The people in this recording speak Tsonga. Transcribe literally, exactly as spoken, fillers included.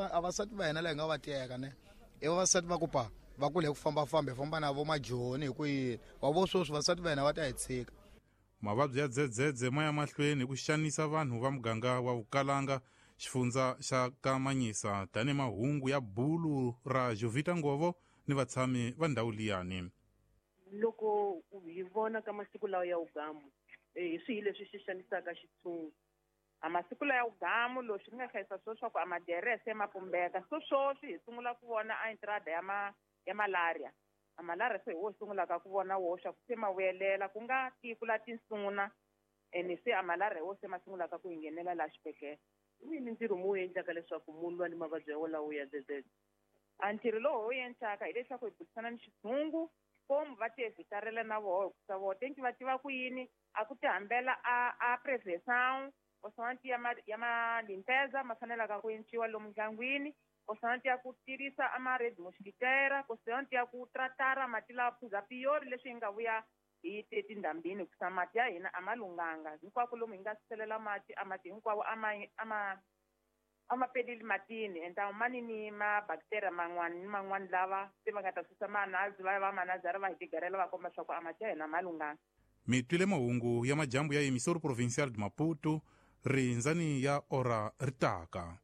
a vasati va hina la hi nga va teka ne i vavasati va ku pa va kule hi ku fambafamba hi famba na vo majoni hi ku yini wa vo sweswi vasati va hina va ta hi tshika. Mavabyi ya dzedzedze ma ya mahlweni hi ku xanisa vanhu va muganga wa Vukalanga, xifundza xa Kamanyisa, tanihi mahungu ya bulu ra Jovita Ngovo ni vatshami va ndhawu liyani. Loko hi vona ka masiku lawa ya ugamu, hi swihi leswi xi xanisaka xitshungu? A masiku lawa ya ugamu leswi ni nga hlayisa swo swa ku a maderese ma pumbeka. So sweswi hi sungula ku vona a entrada ya ma ya malaria. A malaria se hi wo sungulaka ku vona wo swa ku se ma vuyelela ku nga tiko la tinsuna, ene se a malaria wo se ma sungulaka ku nghenela la xibedhlele. Yini ntirho mu endlaka leswaku mu lwa ni mavabyi ya wolawo ya dzedzedze? A ntirho lowu wu endlaka hileswaku hi burisana ni xitshungu, komu va ti evitarela na voho hikusa voho tenki va tiva ku yini a ku ti hambela a a prevention kosanti ya ma ya ma limpeza ma fanelaka ku enciwa lomu ndyangwini, kosanti ya ku tirhisa a ma red mosquitera, kosanti ya ku tratara mati lawa phuza piyori leswi hi nga vuya hi te tindhambini hikusa mati ya hina a ma lunghanga. Hinkwako lomu hi nga selela mati a mati hinkwawo a ma a ma a ma peleli matini, enta mani ni ma bacteria man'wani ni man'wani lava se va nga ta susa manazi va ya va manazara va hi tigarela va komba swa ku a mati ya hina ma lunghanga. Mi twile mahungu ya majambu ya Emissora Provincial de Maputo, rindzani ya ora ritaka.